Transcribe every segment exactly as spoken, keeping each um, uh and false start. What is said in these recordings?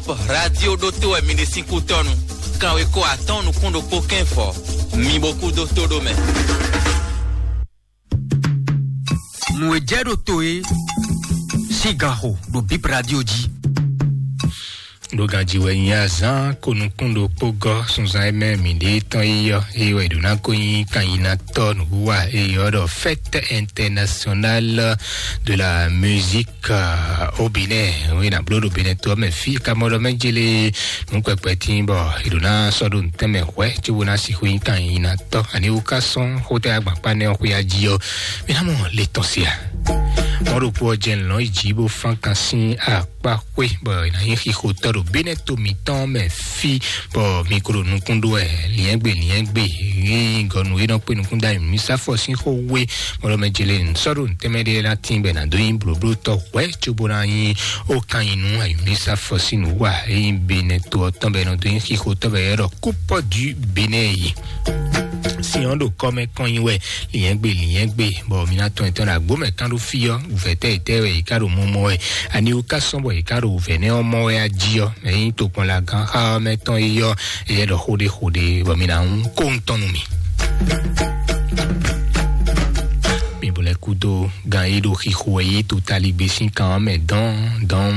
Radio ɖótó wɛ mi ɖe sín kútɔ́nu. Kanweko atɔ́ɔ́n nukún ɖokpó kɛ́nfɔ, mi bo kú dó tó ɖó mɛ. Nǔ e jɛ ɖo to é sín ganxo ɖo Bip Radio jí. Ɖo ganjí wɛ nyi azán ko nukún ɖokpó gɔ́ sunzan e mɛ mǐ ɖe tɔn yi ɔ́, eye wɛ ɖo ná ko nyi kanyinatɔ́ nǔwiwa e ylɔ́ ɖɔ Fête Internationale de la Musique, euh, au Bénin. Oui, na bló ɖo Bénin to ɔ́ mɛ fí ka mɔ ɖɔ mɛ jele nǔ kpɛkpɛ tín bɔ è ɖo ná sɔ́ ɖo nǔtɛn mɛ hwɛ̌ cóbó ná sixú nyí kanyinatɔ́. Ani wú ká sɔ́n xótá agbankpá nɛ́ ɔ́ xwé ají ɔ́, mǐ ná mɔ le tɔn se a? Mɔ̌ ɖokpó ɔ́ jɛ lɔ̌n yi jǐ bó fán kan sín akpá xwé bɔ è nǎ nyí xixotɔ́ ɖo Bénin to mǐtɔn mɛ fí, bɔ mi ko ɖo nukún ɖó wɛ liɛ́ngbé liɛ́ngbé. Yí gɔnu e nɔ kpé nukún dó ayǐmísafɔ sín xó wé, mɔɖɔ mɛ jele sɔ́ ɖo nǔtɛmɛ ɖé ná tín bɔ è nǎ dó nyí blǒblótɔ́ hwɛ̌ cóbó ná nyí ó kan nyi nú ayǐmísafɔ sín nǔ wa e nyí Bénin to ɔ́ tɔn bɔ è nɔ dó nyí xixotɔ́ bɔ è ɖɔ Coupe du Bénin yi. Sin ɔ́ ɖo kɔ́ mɛ kɔn nyi wɛ liɛ́ngbé liɛ́ngbé, bɔ mi ná tɔn etɔn ɖo agbó mɛ kán ɖó fí ɔ́, wǔvɛ́ tɛ́ yětɛ́ wɛ yě ká ɖo mɔmɔ wɛ? Ani wú ká sɔ́ bɔ yě ká ɖo wǔvɛ́ nɛ́ ɔ́ mɔ wɛ a jí ɔ́? Mɛ nyí tokpɔnlagán xá ɔ́ mɛ tɔn é yɔ, éyɛ́ ɖɔ xó ɖé xó ɖé, bɔ mi ná kó ŋutɔn nú mi. Mi bo lɛ́ kúdó gán e ɖo xixo wɛ yí to taligbé sín kan ɔ́ mɛ dɔn dɔn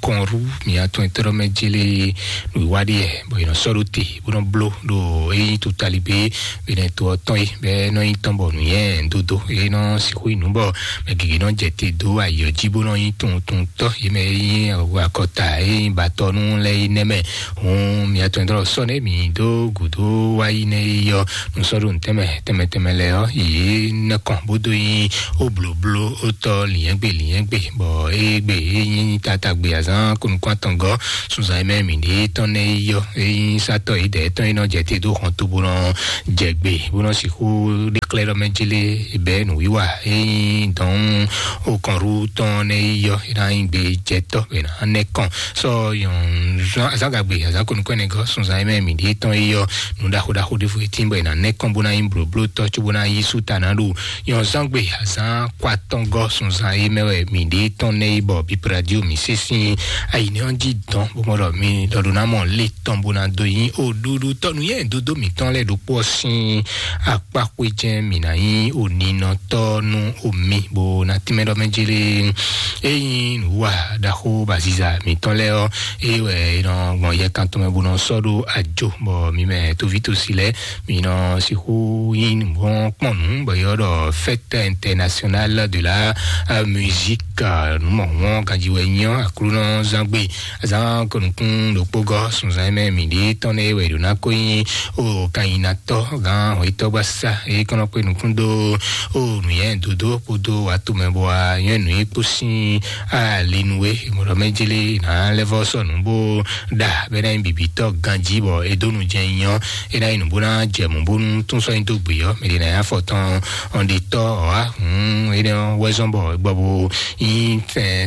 kɔnrú mi atɔn etɔ́ mɛ jélé nǔwiwa ɖíe, bɔ è nɔ sɔ́ ɖó te bó nɔ bló ɖo é nyí to taligbé Benɛto ɔ́ tɔn é, bɔ é nɔ nyí tɔn bɔ nǔnywɛ́ dódó é nɔ sixú nyí nǔ bɔ mɛ gěgé nɔ jɛ te dó ayǐ ɔ́ jí bó nɔ nyí tuntuntɔ́. Yě mɛ e nyí akɔta e nyí batɔnu lɛ́ɛ é nɛ́ mɛ. Hǔn mi atɔn e dɔn sɔ́ nɛ́ mi dó gǔdo wá yi nɛ́ é yɔ nú sɔ́ ɖo nǔtɛmɛ tɛnmɛ tɛnmɛ lɛ́ɛ ɔ́, yě nɛ́ kɔn bó dó nyí ó blǒbló ó tɔ́ lǐnyɛ́gbe lǐnyɛ́gbe, bɔ é gbe é nyí tatagbe azǎn kɔnukún atɔngɔ́ sunzan e mɛ mǐ ɖe tɔn nɛ́ é yɔ é nyí sátɔ́ yědɛɛ tɔn é nɔ jɛ te dó hɔn to bó nɔ jɛ gbe bó nɔ sixú ɖe xlɛ́ ɖɔ mɛ jélé bɛ́ nǔwiwa é nyí dɔn ó kɔn ɖu tɔn nɛ́ é yɔ é ná nyí gbe jɛtɔ́ é ná nɛ́ kɔn sɔ yɔn azán gagbe azán kɔnukún ɛnɛ gɔ́ sunzan e mɛ mǐ ɖe tɔn é yɔ nǔ ɖaxó ɖaxó ɖěvo é tín bɔ è nǎ nɛ́ kɔn bó ná nyí blǒblótɔ́ cóbó ná yí sú ta ná ɖo nyɔ̌zán gbe azán kɔ atɔngɔ́ sunzan e mɛ wɛ mǐ ɖe tɔn nɛ́ yi bɔ bíbradio mǐ sí sín ayǐnɛ́ ɔ́ jí dɔn bó mɔ ɖɔ mi ɖɔ ɖó ná mɔ lé tɔn bó ná dó nyí oɖuɖu tɔnu yɛ dódó mǐtɔn lɛ́ɛ ɖokpó ɔ́ sín akpá xwé jɛ́n mǐ ná nyí oninɔtɔ́ nú omi bó ná tínmɛ ɖɔ mɛ jélé. Ényí nǔwa ɖaxó baziza mǐtɔn lɛ́ɛ ɔ́, é wɛ è nɔ gbɔn yɛ kan tɔn mɛ bó nɔ sɔ́ ɖó ajo bɔ mi mɛ tóví tosi lɛ́ɛ mi nɔ sixú nyí nǔgbɔn kpɔn nǔ bɔ yɔ ɖɔ fête internationale de la musique nǔmɔ̀wɔn ganji wɛ nyɔ aklúnɔ zangbe azán kɔnukún ɖokpó gɔ́ sunzan mɛ mǐ ɖi tɔn nɛ wɛ ɖo ná kó nyí o kanyinatɔ gán hɔyitɔ gbasa e kɔnɔ kpé nukún dó o nǔyɛ dodo kpódó wàtúmɛ bɔ a nyɔ́ nǔ yi kpó sín alinu e mɔɖɔ mɛ jélé ná lɛ́ vɔ sɔnù bó ɖa bɛ ná nyí bibitɔ ganji bɔ e dó nu jɛ nyɔ e ná nyí nǔ bó ná jɛ mǔ bónú tún sɔ́ nyi dó gbě ɔ́ mɛ ɖě ná nyí afɔ tɔn ɔn ɖi tɔ ɔ́ á hǔn énɛ́ ɔ́ wɛ zɔ́n bɔ gbɔ bó nyí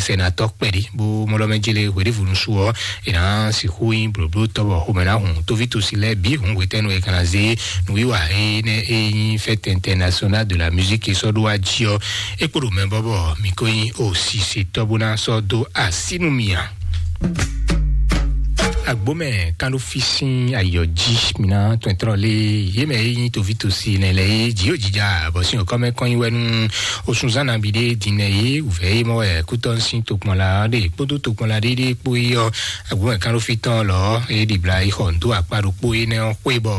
sɛnatɔ kpɛɖé bó mɔɖɔ mɛ jélé hweɖévunu su ɔ́ è nǎ sixú nyí blǒblótɔ́ bɔ xomɛ ná hun tóví tosi lɛ́ɛ bǐ hun hwetɛ́nu e kana zé nǔwiwa énɛ́ e nyí fête internationale de la musique e sɔ́ ɖó wá jí ɔ́ é kpo ɖo mɛ bɔ bɔ mǐ ko nyí o sisetɔ́ bó ná sɔ́ dó así nú mì ǎ. Agbomɛ kan ɖo fí sín ayɔ jí mina tɔntɔn lé yé mɛ yi nyi tovi tosi nɛ lɛ yé dzi yóò jija bɔ sín okɔ mɛ kɔn yi wɛ nu osunzan nabi ɖe din nɛ yé wuvɛ yé mɔ wɛ kútɔ sín tokpɔn la ɖe kpódó tokpɔn la ɖe ɖe kpó yi yɔ. Agbomɛ kan ɖo fí tɔn lɔ yé ɖibla yi xɔ ndo akpa ɖokpó yi nɛ xwé bɔ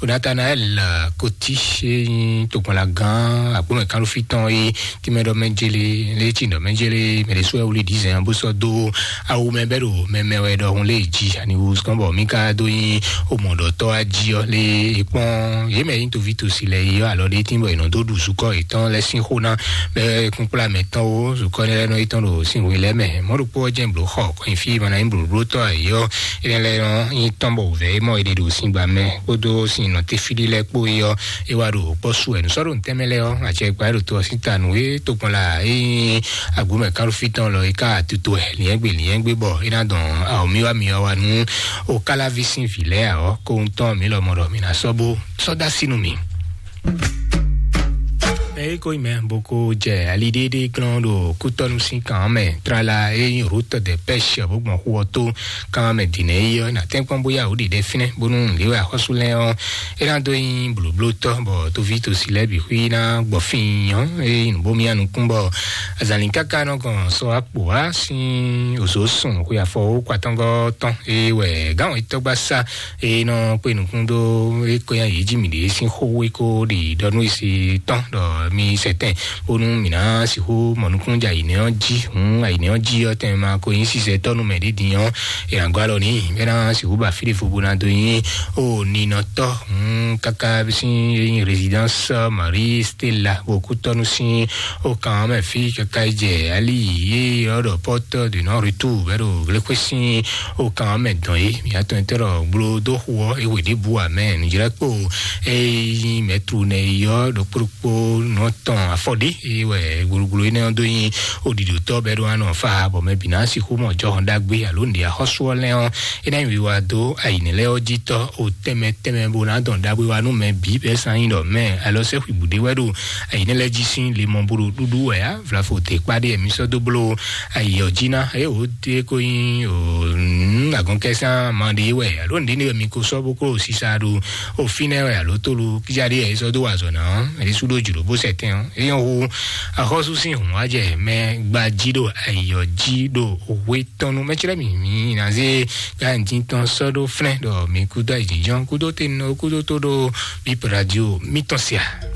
o Nathanael koti yé nyi tokpɔn la gán agbomɛ kan ɖo fí tɔn yé tìmɛ ɖɔ mɛ jele lé tsi ɖɔ mɛ jele mɛ ɖe sɔɛ wuli dizɛn bó sɔ dó awu mɛ bɛ ɖo mɛ mɛ wɛ ɖɔhun lé dzi ani wu sɔn bɔ mi ka do nyi o mɔ ɖɔ tɔ aji ɔ lé ekpɔn yé mɛ yi tovi tosi lɛ yi ɔ alɔ ɖe tin bɔ yìí nɔ dó ɖu zukɔ yìí tɔn lɛ sin xó ná bɛ kunkpla mɛ tɔn wo zukɔ ne lɛ nɔ yi tɔn ɖo sin hu lɛ mɛ mɔ ɖokpɔ jɛ blo xɔ kɔnyi fi ma na nyi blo blo tɔ ayi ɔ ene lɛ nɔ yi tɔn bɔ vɛ mɔ yi ɖe ɖo sin gba mɛ kpódó sin nɔ te fi ɖi lɛ kpó yi ɔ e wa ɖo kpɔ su ɛ nusɔ ɖo ntɛmɛ lɛ ɔ atsɛ gba ɖo to ɔ sin ta nu e to gbɔn la e nyi agbomɛ kalufi tɔn lɔ e ka tutu ɛ liɛngbe liɛngbe bɔ e na dɔn awɔ mi wa mi wa wa nu o kalavi sin vi lɛ awɔ ko ŋutɔ mi lɔ mɔ ɖɔ mi na sɔ bo sɔ da sinu mi. Eko yi mɛ boko jɛ ali ɖéɖé glɔn ɖo kútɔnu sín kan mɛ trala e nyí route de pêche bó gbɔn xu ɔ tó kan mɛ dǐnɛ yi ɔ́, na tɛ́nkpɔ́n bóyá wǒ ɖiɖɛ fínɛ́ bónú léwɛ axɔ́sú lɛ́ɛ ɔ́, é ná dó nyí blǒblótɔ́ bɔ tóví tosi lɛ́ɛ bǐ xwí ná gbɔ fín ɔ́, é nyí nǔ bó mía nukún bɔ azǎlín káká nɔ gɔn sɔ akpò wá sín òzó sùn xwe afɔ ó kwatɔ́ngɔ́ tɔn é wɛ gǎn wětɔ́gbá sá e nɔ kpé nukún dó é kɔ́ nyi yě jí mǐɖée sín xó é kó ɖi ɖɔ nú esi tɔn ɖɔ mi sɛtɛn bónú mǐ ná sixú mɔ nukún jɛ ayǐnɛ ɔ́ jí. Hǔn ayǐnɛ ɔ́ jí ɔ́ tɛn ma ko nyí sisɛ tɔ́ nú mɛ ɖé din ɔ́, è nǎ gɔ́ alɔ n'i bɛ ná sixú ba fí ɖé fo bó ná dó nyí o ninɔtɔ́. Hǔn káká sín résidence Marie Stella bó kú tɔ́nu sín o kan mɛ fí káká jɛ ali yě ɔ́ ɖɔ porte de non retour bɛ ɖo glékwe sín o kan mɛ dɔn yé. Mǐ atɔn tɛ ɖɔ gblo dó xu ɔ́ é wě ɖěbǔ amɛ nǔjlɛ́kpo é nyí mɛtlu nɛ yɔ ɖokpóɖokpó nɔ tɔn afɔ ɖé é wɛ gblogblo énɛ́ ɔ́ dó nyí oɖiɖotɔ́ bɛ ɖo anɔ fa bɔ mɛ bǐ ná sixú mɔ jɔhɔn ɖagbe alo nǔɖé axɔ́sú ɔ́ lɛ́ ɔ́ é ná nyi wiwa dó ayǐnɛ lɛ́ɛ ɔ́ jí tɔ́ o tɛnmɛ tɛnmɛ bó ná dɔn ɖagbe wa nú mɛ bǐ bɛ sán nyi ɖɔ mɛ alɔ sɛ́ xwibǔ ɖé wɛ ɖo ayǐnɛ lɛ́ɛ jí sín le mɔ bó ɖo ɖúɖú wɛ á vlafo te kpá ɖé mi sɔ́ dó bló ayǐ ɔ́ jí ná é wǒ dé kó nyí o agɔnkɛsán ma ɖé wɛ alo nǔɖé wɛ mi ko sɔ́ bó kó sisa ɖo o fínɛ́ wɛ alo tólu kíjá ɖé wɛ é sɔ́ dó wa azɔ̌ ná ɔ́ é sú ɖó jǔɖó bó sɛ tɛn ɔ́ é nyɔ́ hu axɔ́sú sín hǔn wá jɛ mɛ gba jí ɖo ayǐ ɔ́ jí ɖo hwe tɔn nu mɛ cɛ́lɛ́ mǐ mǐ ná zé gánjí tɔn sɔ́ ɖó flɛ́n ɖɔ mi kúdó ayǐjínjɔ́n kúdó tenɔ kúdó tó ɖó bíp radio mítɔn sia.